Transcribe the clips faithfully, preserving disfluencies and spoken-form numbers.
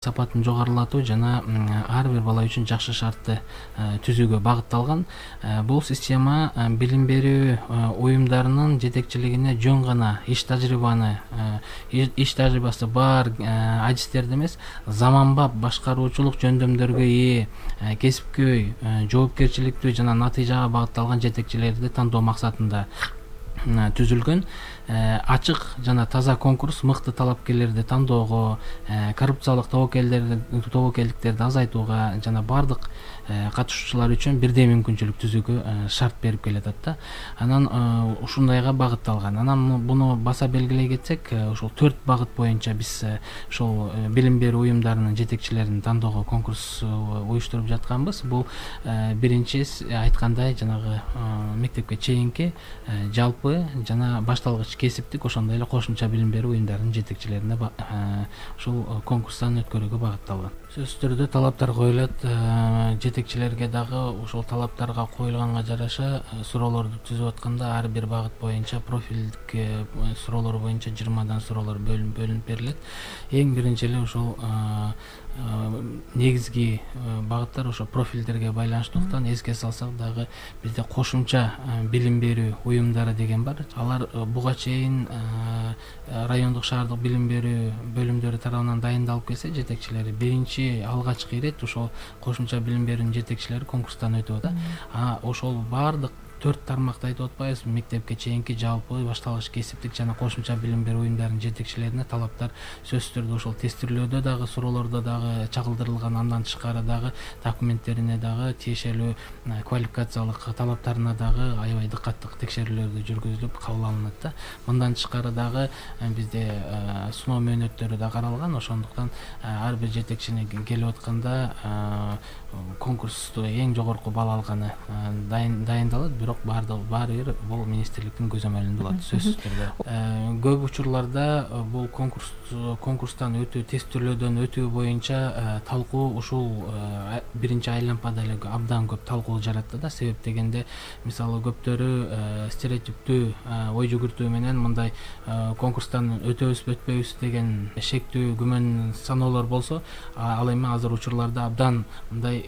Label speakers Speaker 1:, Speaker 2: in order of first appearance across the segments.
Speaker 1: сапатын жогорулатуу жана ар бир бала үчүн жакшы шартты түзүүгө багытталган. Бул система билим берүү уюмдарынын жетекчилигине жөн гана иш тажрыйбаны иш тажрыйбасы бар адистерди эмес, заманбап башкаруучулук жөндөмдөргө ээ, кесипкөй, жоопкерчиликтүү жана натыйжага багытталган жетекчилерди тандоо максатында түзүлгөн. Ачык жана таза конкурс мыкты талапкерлерди тандоого, коррупциялык тобокелдиктерди азайтууга жана бардык катышуучулар үчүн бирдей мүмкүнчүлүк түзүүгө шарт берип келатат да. Анан ушундайга багытталган. Анан буну баса белгилей кетсек, ошол төрт багыт боюнча биз ошол билим берүү уюмдарынын жетекчилерин тандоого конкурс уюштуруп жатканбыз. Бул биринчи айткандай жанагы мектепке чейинки жалпы жана башталгыч кесиптик, ошондой эле кошумча билим берүү уюмдарынын жетекчилерине ушул конкурстан өткөрүүгө багытталган. Сөзсүз түрдө талаптар коюлат. Жетекчилерге дагы ошол талаптарга коюлганга жараша суроолорду түзүп атканда ар бир багыт боюнча профилдик суроолор боюнча жыйырмадан суроолор бөлүнүп берилет. Эң биринчи эле ошол негизги багыттар ошо профилдерге байланыштуулуктан эске салсак дагы бизде кошумча билим берүү уюмдары деген бар. Алар буга чейин райондук шаардык билим берүү бөлүмдөрү тарабынан дайындалып келсе, жетекчилери биринчи алгачкы ирет ошол кошумча билим берүүнүн жетекчилери конкурстан өтүп атат. А ошол бардык төрт тармакты айтып атпайбызбы? Мектепке чейинки жалпы башталгыч кесиптик жана кошумча билим берүү уюмдарынын жетекчилерине талаптар сөзсүз түрдө ошол тестирлөөдө дагы суроолордо дагы чагылдырылган, андан тышкары дагы документтерине дагы тиешелүү квалификациялык талаптарына дагы аябай дыкаттык текшерүүлөрдү жүргүзүлүп кабыл алынат да. Мындан тышкары дагы бизде сыноо мөөнөттөрү да каралган. Ошондуктан ар бир жетекчине келип атканда конкурсту эң жогорку балл алганы дайындалат. Бирок баардыгы баары бир бул министрликтин көзөмөлүндө болот сөзсүз түрдө. Көп учурларда бул конкурс конкурстан өтүү, тестирлөөдөн өтүү боюнча талкуу ушул биринчи айлампада эле абдан көп талкуу жаратты да. Себеп дегенде, мисалы көптөрү стереотиптүү ой жүгүртүү менен мындай конкурстан өтөбүзбү өтпөйбүз деген шектүү күмөн саноолор болсо, ал эми азыр учурларда абдан мындай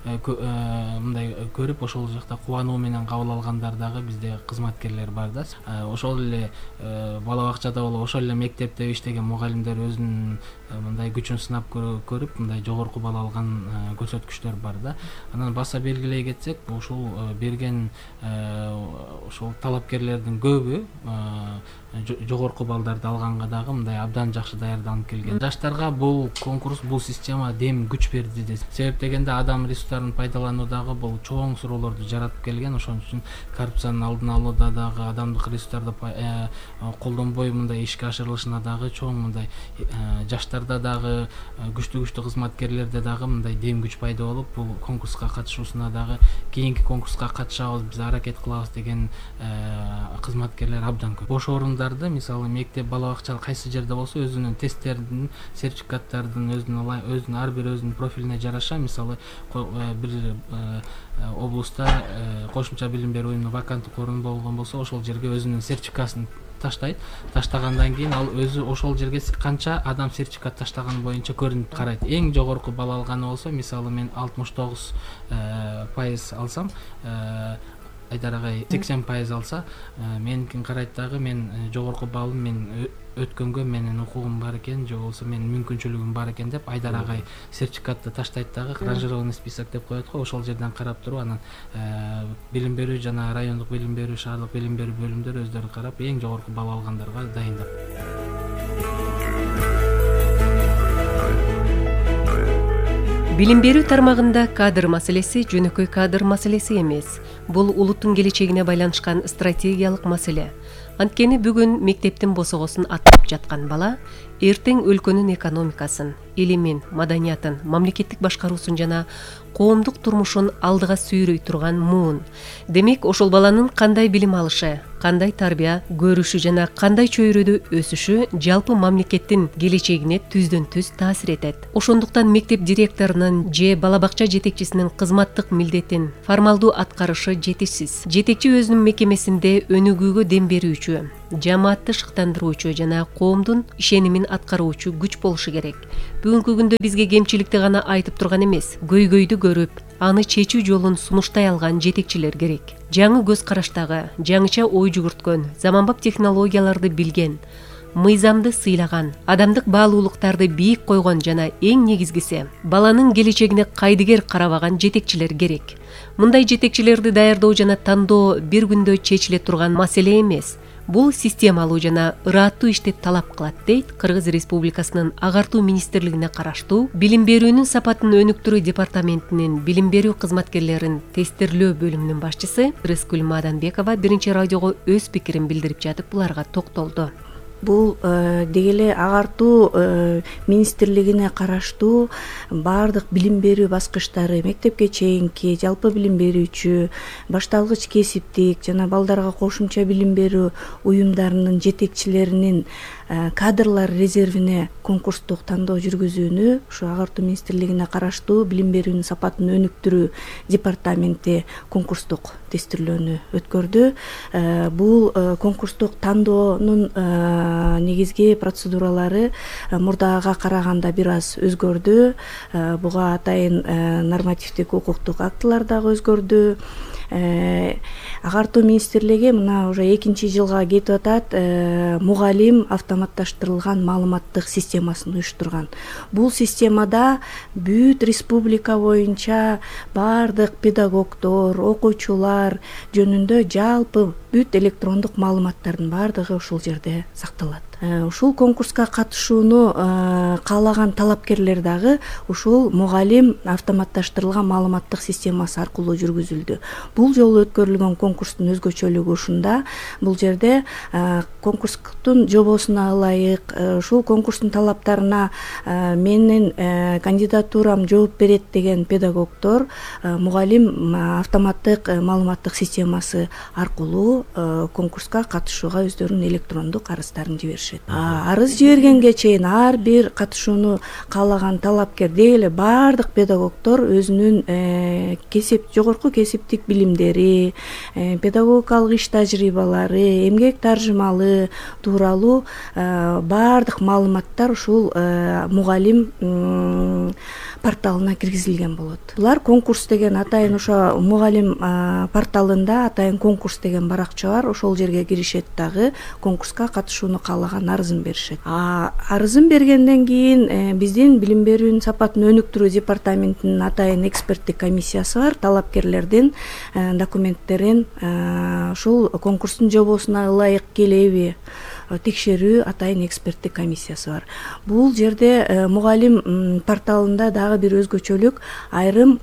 Speaker 1: мындай көрүп ошол жакта кубануу менен кабыл алгандар дагы бизде кызматкерлер бар да. Ошол эле бала бакчада болобу, ошол эле мектепте иштеген мугалимдер өзүнүн мындай күчүн сынап көрүп, мындай жогорку балл алган көрсөткүчтөр бар да. Анан баса белгилей кетсек, ушул берген ошол талапкерлердин көбү жогорку баллдарды алганга дагы мындай абдан жакшы даярданып келген. Жаштарга бул конкурс, бул система дем күч берди да. Себеп дегенде адам ресурстарын пайдалануудагы бул чоң суроолорду жаратып келген. Ошон үчүн коррупциянын алдын алууда дагы, адамдык ресурстарды колдонбой мындай ишке ашырылышына дагы чоң мындай жаштарда дагы, күчтүү күчтүү кызматкерлерде дагы мындай дем күч пайда болуп, бул конкурска катышуусуна дагы кийинки конкурска катышабыз, биз аракет кылабыз деген кызматкерлер абдан көп. Бош орундарды, мисалы мектеп, бала бакча кайсы жерде болсо, өзүнүн тесттердин, сертификаттардын өзүнүн өзүнүн ар бир өзүнүн профилине жараша, мисалы бир облуста кошумча билим берүү уюмунун ваканттык орун болгон болсо, ошол жерге өзүнүн сертификасын таштайт. Таштагандан кийин ал өзү ошол жерге канча адам сертификат таштаганы боюнча көрүнүп карайт. Эң жогорку балл алганы болсо, мисалы мен алтымыш тогуз пайыз алсам, Айдар агай сексен пайыз алса, меникин карайт дагы, мен жогорку баллым мен өткөнгө менин укугум бар экен, же болбосо менин мүмкүнчүлүгүм бар экен деп Айдар агай сертификатты таштайт дагы, ранжированный список деп коет го. Ошол жерден карап туруп, анан билим берүү жана райондук билим берүү, шаардык билим берүү бөлүмдөрү өздөрү карап, эң жогорку балл алгандарга дайындап.
Speaker 2: Билим берүү тармагында кадр маселеси жөнөкөй кадр маселеси эмес. Бул улуттун келечегине байланышкан стратегиялык маселе. Анткени бүгүн мектептин босогосун аттап жаткан бала эртең өлкөнүн экономикасын, илимин, маданиятын, мамлекеттик башкаруусун жана коомдук турмушун алдыга сүйрөй турган муун. Демек, ошол баланын кандай билим алышы, кандай тарбия көрүшү жана кандай чөйрөдө өсүшү жалпы мамлекеттин келечегине түздөн түз таасир этет. Ошондуктан мектеп директорунун же бала бакча жетекчисинин кызматтык милдетин формалдуу аткарышы жетишсиз. Жетекчи өзүнүн мекемесинде өнүгүүгө дем берүүчү, жамаатты шыктандыруучу жана коомдун ишенимин аткаруучу күч болушу керек. бүгүнкү күндө бизге кемчиликти гана айтып турган эмес, көйгөйдү көрүп, аны чечүү жолун сунуштай алган жетекчилер керек. Жаңы көз караштагы, жаңыча ой жүгүрткөн, заманбап технологияларды билген, мыйзамды сыйлаган, адамдык баалуулуктарды бийик койгон жана эң негизгиси баланын келечегине кайдыгер карабаган жетекчилер керек. Мындай жетекчилерди даярдоо жана тандоо бир күндө чечиле турган маселе эмес. Бул системалуу жана ырааттуу ишти талап кылат, дейт Кыргыз Республикасынын Агартуу министрлигине караштуу Билим берүүнүн сапатын өнүктүрүү департаментинин билим берүү кызматкерлерин тестирлөө бөлүмүнүн башчысы Рыскүл Маданбекова биринчи радиого өз пикирин билдирип жатып буларга токтолду.
Speaker 3: Бул деги эле агартуу министрлигине караштуу баардык билим берүү баскычтары, мектепке чейинки, жалпы билим берүүчү, башталгыч кесиптик жана балдарга кошумча билим берүү уюмдарынын жетекчилеринин кадрлар резервине конкурстук тандоо жүргүзүүнү ушу агартуу министрлигине караштуу билим берүүнүн сапатын өнүктүрүү департаменти конкурстук тестирлөөнү өткөрдү. Бул конкурстук тандоонун негизги процедуралары мурдага караганда бир аз өзгөрдү. Буга атайын нормативдик укуктук актылар дагы өзгөрдү. Агартуу министрлиги мына уже экинчи жылга кетип атат, мугалим автоматташтырылган маалыматтык системасын уюштурган. Бул системада бүт республика боюнча баардык педагогдор, окуучулар жөнүндө жалпы бүт электрондук маалыматтардын баардыгы ушул жерде сакталат. Ушул конкурска катышууну каалаган талапкерлер дагы ушул мугалим автоматташтырылган маалыматтык системасы аркылуу жүргүзүлдү. Бул жолу өткөрүлгөн конкурстун өзгөчөлүгү ушунда. Бул жерде конкурстун жобосуна ылайык, ушул конкурстун талаптарына менин кандидатурам жооп берет деген педагогдор мугалим автоматтык маалыматтык системасы аркылуу конкурска катышууга өздөрүнүн электрондук арыздарын жиберишет. Арыз жибергенге чейин ар бир катышууну каалаган талапкер деги эле баардык педагогдор өзүнүн кесип жогорку кесиптик билимдери, педагогикалык иш тажрыйбалары, эмгек таржымалы тууралуу баардык маалыматтар ушул мугалим порталына киргизилген болот. Булар конкурс деген атайын ошо мугалим порталында атайын конкурс деген баракча бар. Ошол жерге киришет дагы конкурска катышууну каалаган арызын беришет. Арызын бергенден кийин биздин билим берүүнүн сапатын өнүктүрүү департаментинин атайын эксперттик комиссиясы бар. Талапкерлердин документтерин ушул конкурстун жобосуна ылайык келеби текшерүү атайын эксперттик комиссиясы бар. Бул жерде мугалим порталында дагы бир өзгөчөлүк айрым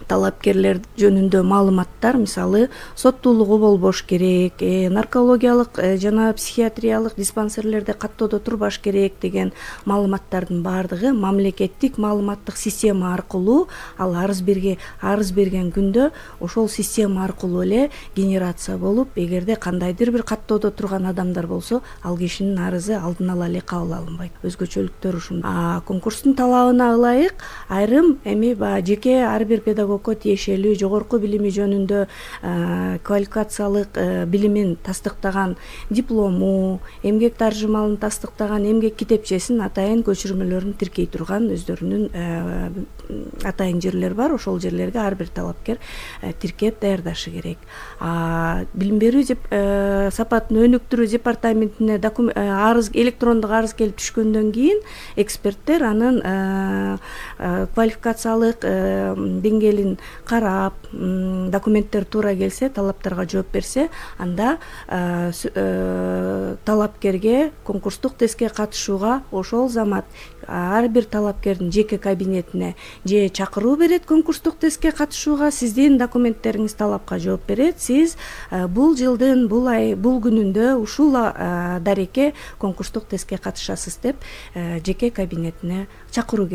Speaker 3: талапкерлер жөнүндө маалыматтар, мисалы, соттуулугу болбош керек, наркологиялык жана психиатриялык диспансерлерде каттоодо турбаш керек деген маалыматтардын баардыгы мамлекеттик маалыматтык система аркылуу ал арыз берге арыз берген күндө ошол система аркылуу эле генерация болуп, эгерде кандайдыр бир каттоодо турган адамдар болсо, ал кишинин арызы алдын ала эле кабыл алынбайт. Өзгөчөлүктөр ушунда. Конкурстун талабына ылайык айрым эми жеке ар бир педагог тиешелүү жогорку билими жөнүндө квалификациялык билимин тастыктаган диплому, эмгек таржымалын тастыктаган эмгек китепчесин атайын көчүрмөлөрүн тиркей турган өздөрүнүн атайын жерлер бар. Ошол жерлерге ар бир талапкер тиркеп даярдашы керек. Билим берүү сапатын өнүктүрүү департаментине арыз электрондук арыз келип түшкөндөн кийин эксперттер анын квалификациялык деңгээлин карап, документтер туура келсе, талаптарга жооп берсе, анда талапкерге конкурстук тестке катышууга ошол замат ар бир талапкердин жеке кабинетине же чакыруу берет конкурстук тестке катышууга, сиздин документтериңиз талапка жооп берет, сиз бул жылдын бул ай бул күнүндө ушул дареке конкурстук тестке катышасыз деп жеке кабинетине чакыруу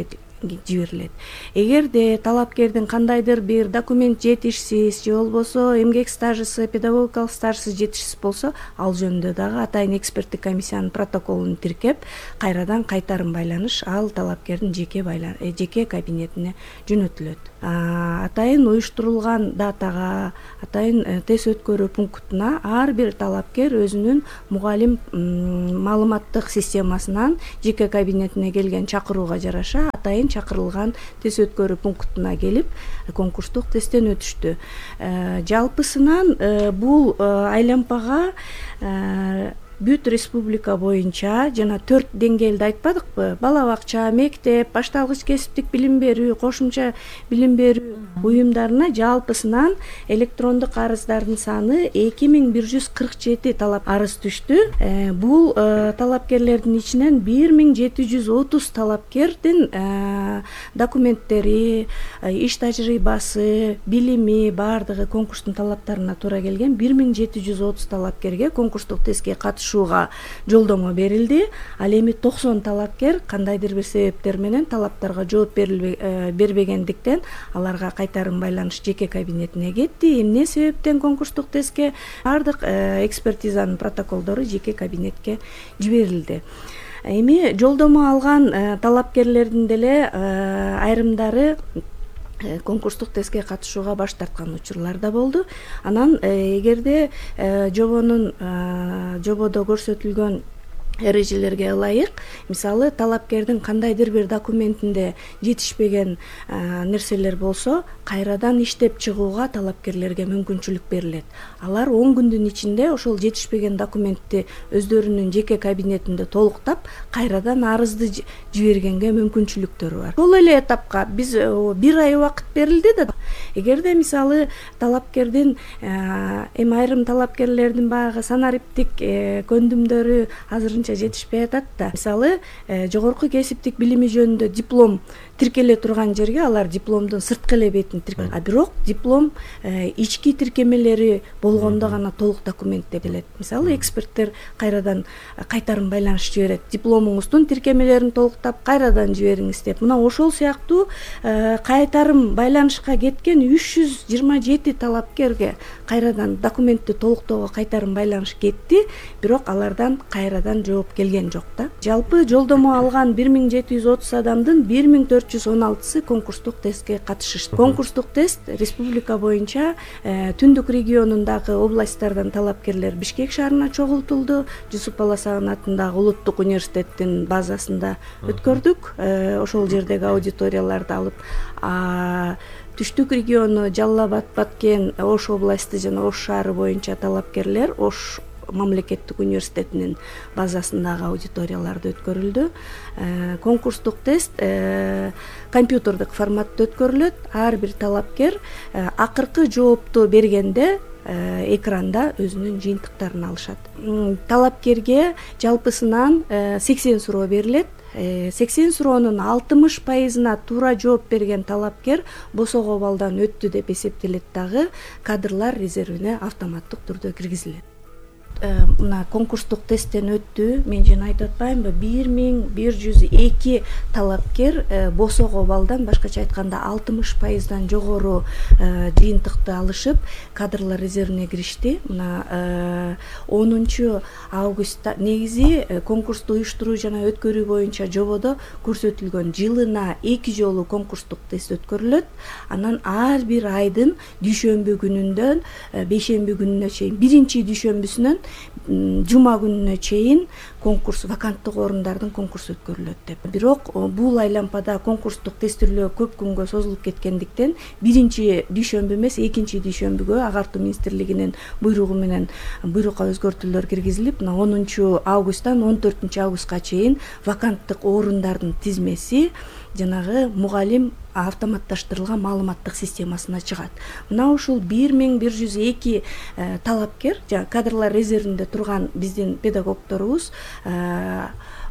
Speaker 3: жиберилет. Эгерде талапкердин кандайдыр бир документ жетишсиз же болбосо эмгек стажысы, педагогикалык стажысы жетишсиз болсо, ал жөнүндө дагы атайын эксперттик комиссиянын протоколун тиркеп, кайрадан кайтарым байланыш ал талапкердин жеке байлан жеке кабинетине жөнөтүлөт. Атайын уюштурулган датага, атайын тест өткөрүү пунктуна ар бир талапкер өзүнүн мугалим маалыматтык системасынан жеке кабинетине келген чакырууга жараша атайын чакырылган тест өткөрүү пунктуна келип конкурстук тесттен өтүштү. Жалпысынан бул айлампага бүт республика боюнча жана төрт деңгээлди айтпадыкпы? Бала бакча, мектеп, башталгыч кесиптик билим берүү, кошумча билим берүү уюмдарына жалпысынан электрондук арыздардын саны эки миң бир жүз кырк жети талап арыз түштү. Бул талапкерлердин ичинен бир миң жети жүз отуз талапкердин документтери, иш тажрыйбасы, билими баардыгы конкурстун талаптарына туура келген бир миң жети жүз отуз талапкерге конкурстук тестке катышууга жолдомо берилди. Ал эми токсон талапкер кандайдыр бир себептер менен талаптарга жооп бербегендиктен аларга кайтарым байланыш жеке кабинетине кетти. Эмне себептен конкурстук тестке баардык экспертизанын протоколдору жеке кабинетке жиберилди. Эми жолдомо алган талапкерлердин деле айрымдары конкурстук тестке катышууга баш тарткан учурлар да болду. Анан эгерде жобонун жободо көрсөтүлгөн эрежелерге ылайык, мисалы талапкердин кандайдыр бир документинде жетишпеген нерселер болсо, кайрадан иштеп чыгууга талапкерлерге мүмкүнчүлүк берилет. Алар он күндүн ичинде ошол жетишпеген документти өздөрүнүн жеке кабинетинде толуктап, кайрадан арызды жибергенге мүмкүнчүлүктөрү бар. Ошол эле этапка биз бир ай убакыт берилди да. Эгерде мисалы талапкердин эми айрым талапкерлердин баягы санариптик көндүмдөрү азыр жетишпей атат да. Мисалы, жогорку кесиптик билими жөнүндө диплом тиркеле турган жерге алар дипломдун сырткы эле бетин тиркелет. А бирок диплом ички тиркемелери болгондо гана толук документ деп келет. Мисалы, эксперттер кайрадан кайтарым байланыш жиберет. Дипломуңуздун тиркемелерин толуктап, кайрадан жибериңиз деп. Мына ошол сыяктуу кайтарым байланышка кеткен үч жүз жыйырма жети талапкерге кайрадан документти толуктоого кайтарым байланыш кетти, бирок алардан кайрадан жооп келген жок да. Жалпы жолдомо алган бир миң жети жүз отуз адамдын бир миң төрт жүз он алтысы конкурстук тестке катышышты. Конкурстук тест республика боюнча түндүк регионундагы областтардан талапкерлер Бишкек шаарына чогултулду. Жусуп Баласагын атындагы улуттук университеттин базасында өткөрдүк. Ошол жердеги аудиторияларды алып, түштүк региону Жалал Абад, Баткен, Ош областы жана Ош шаары боюнча талапкерлер Ош мамлекеттик университетинин базасындагы аудиторияларда өткөрүлдү. Конкурстук тест компьютердик форматта өткөрүлөт. Ар бир талапкер акыркы жоопту бергенде экранда өзүнүн жыйынтыктарын алышат. Талапкерге жалпысынан сексен суроо берилет. сексен суроонун алтымыш пайызына туура жооп берген талапкер босого балдан өттү деп эсептелет дагы кадрлар резервине автоматтык түрдө киргизилет. Мына конкурстук тесттен өттү. Мен жана айтып атпаймынбы, бир миң бир жүз эки талапкер босого балдан, башкача айтканда алтымыш пайыздан жогору жыйынтыкты алышып, кадрлар резервине киришти. Мына онунчу августта негизи конкурсту уюштуруу жана өткөрүү боюнча жободо көрсөтүлгөн жылына эки жолу конкурстук тест өткөрүлөт. Анан ар бир айдын дүйшөмбү күнүндөн бейшемби күнүнө чейин, биринчи дүйшөмбүсүнөн жума күнүнө чейин конкурс, ваканттык орундардын конкурсу өткөрүлөт деп. Бирок бул айлампада конкурстук тестирлөө көп күнгө созулуп кеткендиктен биринчи дүйшөмбү эмес, экинчи дүйшөмбүгө агартуу министрлигинин буйругу менен буйрукка өзгөртүүлөр киргизилип, мына онунчу августтан он төртүнчү августка чейин ваканттык орундардын тизмеси жанагы мугалим автоматташтырылган маалыматтык системасына чыгат. Мына ушул бир миң бир жүз эки талапкер, жана кадрлар резервинде турган биздин педагогдорубуз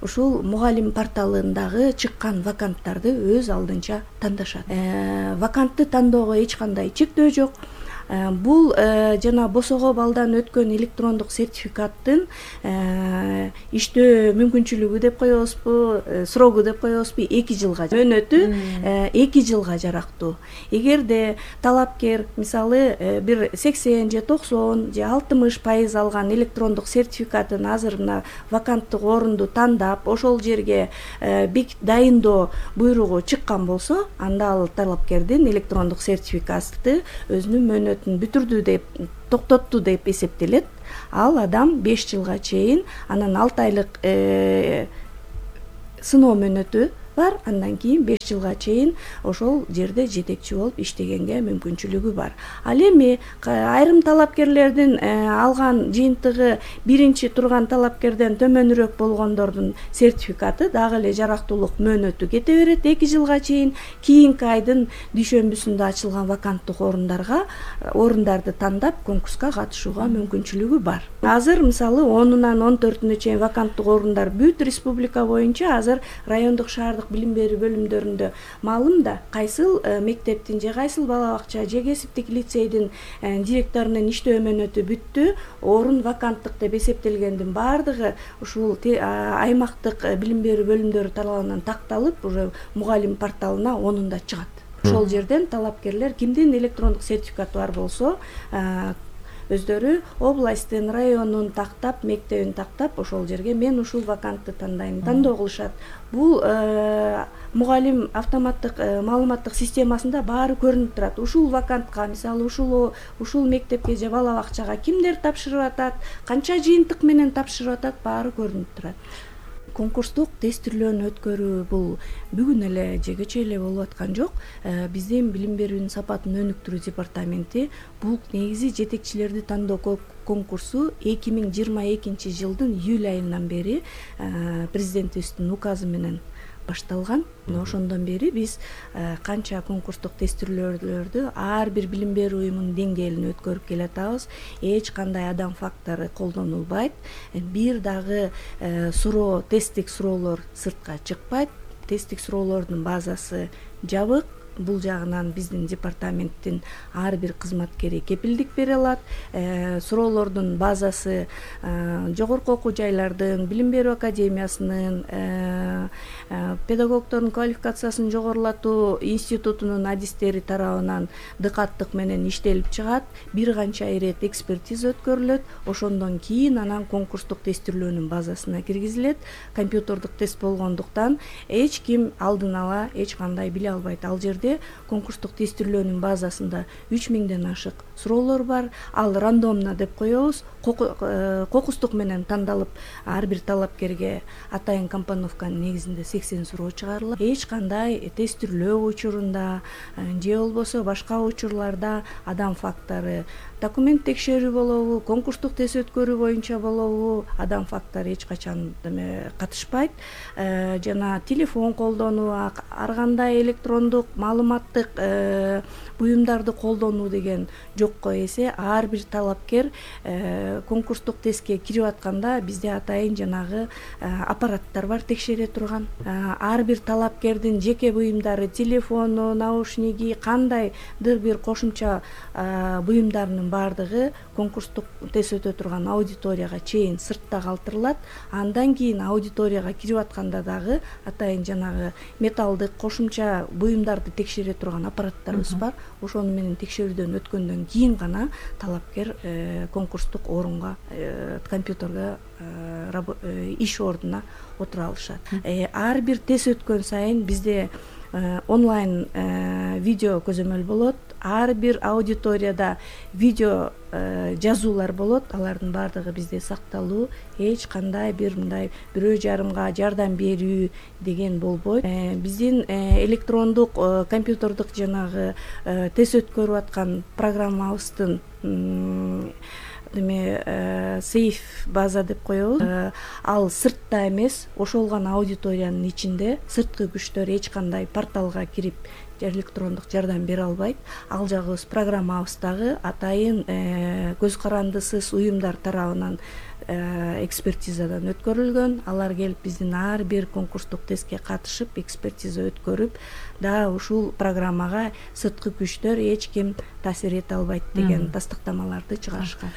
Speaker 3: ушул мугалим порталындагы чыккан ваканттарды өз алдынча тандашат. Вакантты тандоого эч кандай чектөө жок. бул жана босого балдан өткөн электрондук сертификаттын иштөө мүмкүнчүлүгү деп коебузбу, срогу деп коебузбу, эки жылга, мөөнөтү эки жылга жарактуу. Эгерде талапкер мисалы бир сексен же токсон же алтымыш пайыз алган электрондук сертификатын азыр мына ваканттык орунду тандап, ошол жерге дайындоо буйругу чыккан болсо, анда ал талапкердин электрондук сертификаты өзүнүн мөөнөтүн бүтүрдү деп, токтотту деп эсептелет. Ал адам беш жылга чейин, анан алты айлык сыноо мөөнөтү бар, андан кийин беш жылга чейин ошол жерде жетекчи болуп иштегенге мүмкүнчүлүгү бар. Ал эми айрым талапкерлердин алган жыйынтыгы биринчи турган талапкерден төмөнүрөөк болгондордун сертификаты дагы эле жарактуулук мөөнөтү кете берет эки жылга чейин. Кийинки айдын дүйшөмбүсүндө ачылган ваканттык орундарга орундарды тандап конкурска катышууга мүмкүнчүлүгү бар. Азыр мисалы онунан он төртүнө чейин ваканттык орундар бүт республика боюнча азыр райондук шаардык билим берүү бөлүмдөрүндө маалым да, кайсыл мектептин же кайсыл бала бакча же кесиптик лицейдин директорунун иштөө мөөнөтү бүттү, орун ваканттык деп эсептелгендин баардыгы ушул аймактык билим берүү бөлүмдөрү тарабынан такталып, уже мугалим порталына онунда чыгат. Ошол жерден талапкерлер кимдин электрондук сертификаты бар болсо, өздөрү областтын, районун тактап, мектебин тактап, ошол жерге мен ушул вакантты тандайм, тандоо кылышат. Бул мугалим автоматтык маалыматтык системасында баары көрүнүп турат. Ушул вакантка, мисалы ушул ушул мектепке же бала бакчага кимдер тапшырып атат, канча жыйынтык менен тапшырып атат, баары көрүнүп турат. Конкурстук тестирлөөнү өткөрүү бул бүгүн эле же кечээ эле болуп аткан жок. Биздин билим берүүнүн сапатын өнүктүрүү департаменти бул негизи жетекчилерди тандоо конкурсу эки миң жыйырма экинчи жылдын июль айынан бери президентибиздин указы менен башталган. Ошондон бери биз канча конкурстук тестирлөөлөрдү ар бир билим берүү уюмунун деңгээлине өткөрүп келатабыз. Эч кандай адам фактору колдонулбайт. Бир дагы суроо, тесттик суроолор сыртка чыкпайт. Тесттик суроолордун базасы жабык. Бул жагынан биздин департаменттин ар бир кызматкери кепилдик бере алат. Суроолордун базасы жогорку окуу жайлардын, билим берүү академиясынын, педагогдордун квалификациясын жогорулатуу институтунун адистери тарабынан дыкаттык менен иштелип чыгат. Бир канча ирет экспертиза өткөрүлөт. Ошондон кийин анан конкурстук тестирлөөнүн базасына киргизилет. Компьютердик тест болгондуктан эч ким алдын ала эч кандай биле албайт. Ал жерде конкурстук тестирлөөнүн базасында үч миңден ашык суроолор бар. Ал рандомно деп коебуз. Кокустук менен тандалып, ар бир талапкерге атайын компоновканын негизинде сексен суроо чыгарылат. Эч кандай тестирлөө учурунда же болбосо башка учурларда адам фактору, документ текшерүү болобу, конкурстук тест өткөрүү боюнча болобу, адам фактору эч качан катышпайт. Жана телефон колдонуу, ар кандай электрондук маалыматтык буюмдарды колдонуу деген жокко эсе, ар бир талапкер конкурстук тестке кирип атканда бизде атайын жанагы аппараттар бар, текшере турган. Ар бир талапкердин жеке буюмдары, телефону, наушниги, кандайдыр бир кошумча буюмдарынын баардыгы конкурстук тест өтө турган аудиторияга чейин сыртта калтырылат. Андан кийин аудиторияга кирип атканда дагы атайын жанагы металлдык кошумча буюмдарды текшере турган аппараттарыбыз бар. Ошону менен текшерүүдөн өткөндөн кийин гана талапкер конкурстук орунга, компьютерге, иш ордуна отура алышат. Ар бир тест өткөн сайын бизде онлайн видео көзөмөл болот. Ар бир аудиторияда видео жазуулар болот. Алардын баардыгы бизде сакталуу. Эч кандай бир мындай бирөө жарымга жардам берүү деген болбойт. Биздин электрондук компьютердик жанагы тест өткөрүп аткан программабыздын эме сейф база деп коебуз. Ал сыртта эмес, ошол гана аудиториянын ичинде. Сырткы күчтөр эч кандай порталга кирип электрондук жардам бере албайт. Ал жагыбыз программабыздагы атайын көз карандысыз уюмдар тарабынан экспертизадан өткөрүлгөн. Алар келип биздин ар бир конкурстук тестке катышып, экспертиза өткөрүп, да ушул программага сырткы күчтөр эч ким таасир эте албайт деген тастыктамаларды чыгарышкан.